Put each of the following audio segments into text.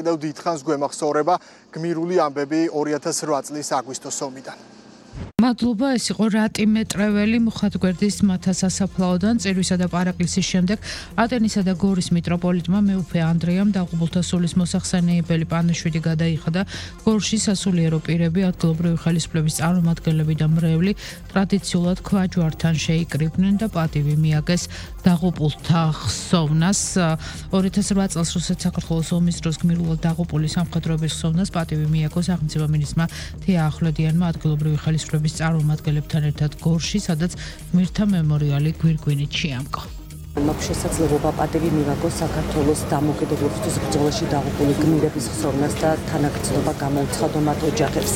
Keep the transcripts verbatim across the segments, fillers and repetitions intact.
კიდევ დიდხანს გვემახსოვრება გმირული ამბები ორი ათას რვა წლის აგვისტოს ომიდან. მადლობა, ეს იყო რატი მეტრეველი მუხათგვერდის მთა სასაფლაოდან წირვისა და პარაკლისის შემდეგ ატენისა და გორის მიტროპოლიტმა მეუფე ანდრეამ დაღუპულთა სულის მოსახსენებელი პანაშვიდი გადაიხადა. გორში სასულიერო პირები, ადგილობრივი ხელისუფლების წარმომადგენლები და მრევლი ტრადიციულად ქვაჯვართან შეიკრიბნენ და პატივი მიაგეს დაღუპულთა ხსოვნას. ორი ათას რვა წელს რუსეთ-საქართველოს ომის დროს გმირულად დაღუპული სამხედროების ხსოვნას პატივი მიაგო სახელმწიფო მინისტრმა თია ახვლედიანმა ადგილობრივი ხელისუფლების წარმომადგენლებთან ერთად გორში, სადაც გმირთა მემორიალი გვირგვინით შეამკო. მაქვს შესაძლებლობა პატივი მივაგოს საქართველოს დამოუკიდებლობისთვის ბრძოლაში დაღუპული გმირების ხსოვნას და თანაგრძნობა გამოუცხადო მათ ოჯახებს.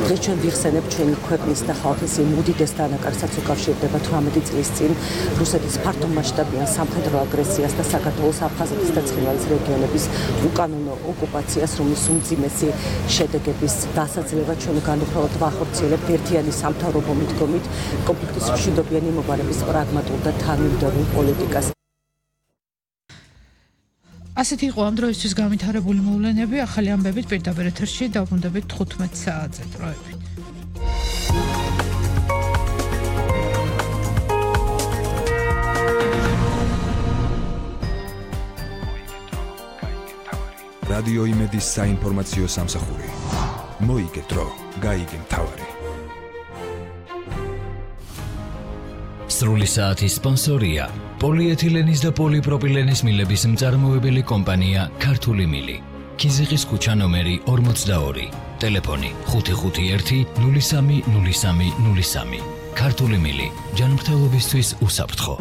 დღეს ჩვენ ვიხსენებთ ჩვენი ქვეყნის და ხალხის იმ უდიდეს დანაკარგსაც უკავშირდება თვრამეტი წლის წინ რუსეთის ფართომასშტაბიან სამხედრო აგრესიას და საქართველოს აფხაზეთის და ცხინვალის რეგიონების უკანონო ოკუპაციას, რომლის უმძიმესი შედეგების დასაძლევა ჩვენ განუხრალად ვახორციელებთ ერთიანი სამთავრობო მიდგომით კონფლიქტის მშვიდობიანი მომყარების პრაგმატულ და თანმიმდევრულ პოლიტიკას. ასეთი იყო ამ დროისთვის გამითარებული მოვლენები. ახალი ამბებით პირდაპირ ეთერში დავბრუნდებით თხუთმეტ საათზე დროებით. რადიო იმედის საინფორმაციო სამსახური. მოიგე დრო, გაიგე მთავარი. სრული საათის სპონსორია პოლიეთილენის და პოლიპროპილენის მილების მწარმოებელი კომპანია ქართული მილი. ქიზიყის ქუჩა ნომერი ორმოცდაორი. ტელეფონი ხუთი ხუთი ერთი ნული სამი ნული სამი ნული სამი. ქართული მილი. ჯანმრთელობისთვის უსაფრთხო.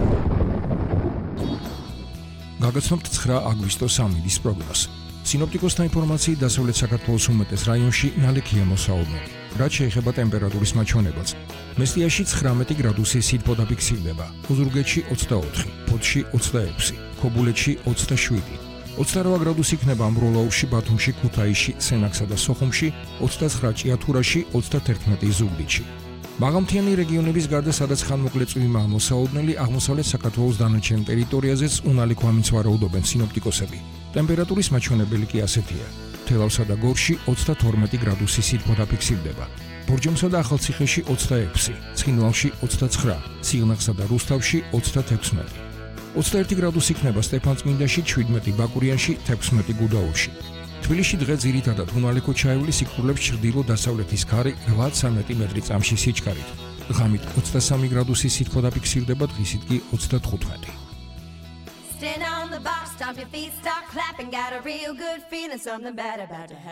გაგაცნობთ ცხრა აგვისტოს ამინდის პროგნოზს. სინოპტიკოსთა ინფორმაციით დასავლეთ საქართველოს უმეტეს რაიონში ნალექია მოსაუბნელი. რაც შეეხება ტემპერატურის მაჩვენებელს. მესტიაში ცხრამეტი გრადუსი სითბო დაფიქსირდება, ოზურგეთში ოცდაოთხი, ფოთში ოცდაექვსი, ქობულეთში ოცდაშვიდი, ოცდარვა გრადუსი იქნება ამბროლაურში, ბათუმში, ქუთაისში, სენაკსა და სოხუმში, ოცდაცხრა ჭიათურაში, ოცდათერთმეტი ზუგდიდში. მაღალმთიანი რეგიონების გარდა, სადაც ხანმოკლე წვიმაა მოსაუბნელი, აღმოსავლეთ საქართველოს დანარჩენ ტერიტორიაზეც უნალიქ ვამინც ვარაუდობენ სინოპტიკოსები. ტემპერატურის მაჩვენებელი კი ასეთია. თელავსა და გორში ოცდათორმეტი გრადუსი სითბო დაფიქსირდება. ბორჯომსა და ახალციხეში ოცდაექვსი, ცხინვალში ოცდაცხრა, სიღნაღსა და რუსთავში ოცდათექვსმეტი. ოცდაერთი გრადუსი იქნება სტეფანწმინდაში, შვიდმეტი ბაკურიანში, თექვსმეტი გუდაურში. თბილისში დღე ძირითადად უნალექო ჩაივლის სიკვდილებს ჩრდილო-დასავლეთის ქარი რვა სანტიმეტრი წამში სიჩქარით. ღამით ოცდასამი გრადუსი სითბო დაფიქსირდება, დღისით კი ოცდათხუთმეტი. Stand on the box, stomp your feet, start clapping, got a real good feeling, something bad about to happen.